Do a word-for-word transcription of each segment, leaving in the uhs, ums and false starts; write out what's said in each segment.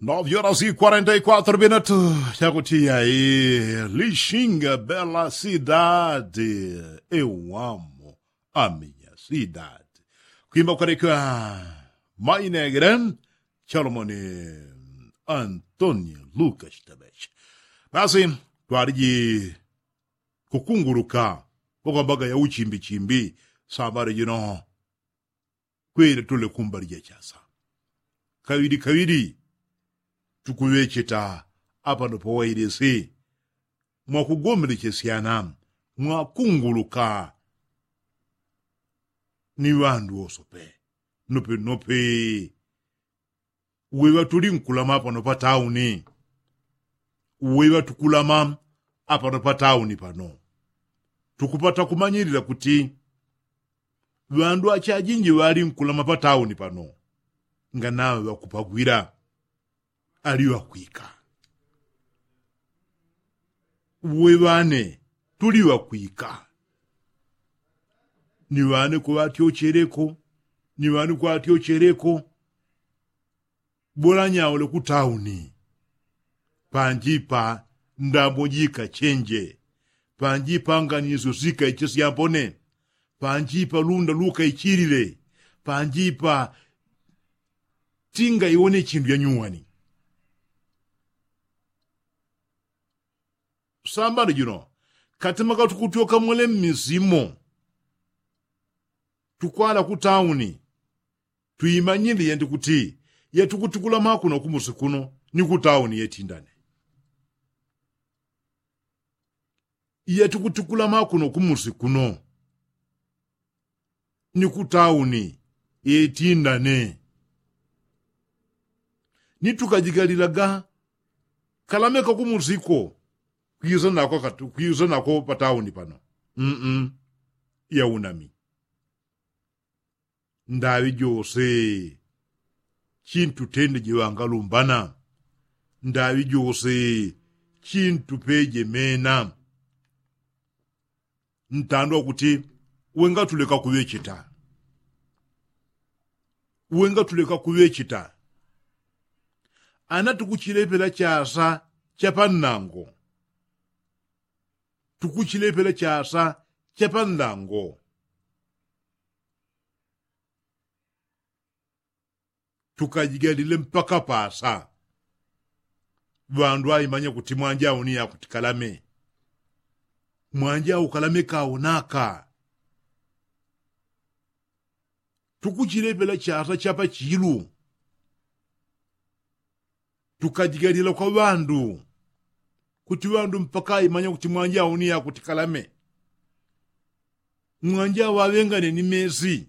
Nove horas e quarenta e quatro minutos. Chakutiya i lishinga bela sidade, eu amo a minha cidade. Kwimba kwarekiwa mainegre chalomoni antonio lucas tabeshi. Basi twariji kukunguluka pakwambaga ya uchimbichimbi sambale jino. Kwele tule kumbali ja chasa kaŵili kaŵili. Tukuŵecheta apano pawailesi mwakugomelechesyana mwakunguluka ni ŵandu wosope. Nopenope uweŵa tuli nkulama apano patauni. Uweŵa tukulama apano patauni pano tukupata kumanyilila kuti ŵandu achajinji ŵali nkulama patauni pano nganaŵa ŵakupagwila ali ŵakwika. Uweŵa ane tuli ŵakwika. Ni ŵane kuŵatyocheleko ni ŵane kuŵatyocheleko. Bola nyaule kutauni panjipa ndambo jika chenje panjipa nganisyo sika ichesyambone panjipa lunda luka ichilile panjipa tinga iwone chindu yanyuwani. Sambano jino katemaka tukutyoka mwele mmisimo tukwala kutauni. Twimanyile yandi kuti yatukutikula makuno kumusi kuno ni kutauni yetindane. Yatukutikula makuno kumusi kuno ni kutauni yetindane. Ni tukajigalilaga kalameka kumusiko kwiza nako patauni pano. Mm. Yaunami ndaŵi jose chintu tende jiŵangalumbana. Ndaŵi jose chintu pejemena. Ntandwa kuti wengatuleka kuŵecheta. Wengatuleka kuŵecheta. Ana tukuchilepela chasa chapannango. Tukuchilepela chasa chapannango. Tukajigalile mpaka pasa. Ŵandu aimanya kuti mwanja auni yakuti kalame. Mwanja au kalame kaunaka. Tukuchilepela chasa chapa chilu. Tukajigalila kwa ŵandu kuti ŵandu mpaka aimanya kuti mwanja auni yakuti kalame. Mwanja awaŵengane ni mesi.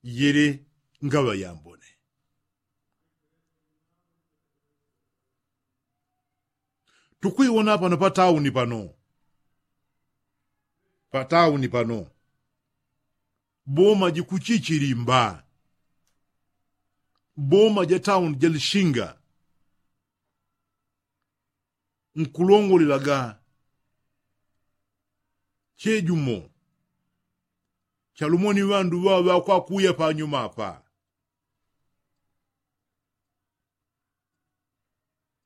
Yele ngaŵa yambone. Tukwiwona pano patauni pano. Patauni pano boma jikuchichilimba. Boma ja tauni ja lishinga. Nkulongolelaga chejumo chalumoni ŵandu ŵaŵa kwakwiya panyuma apa.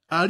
Ali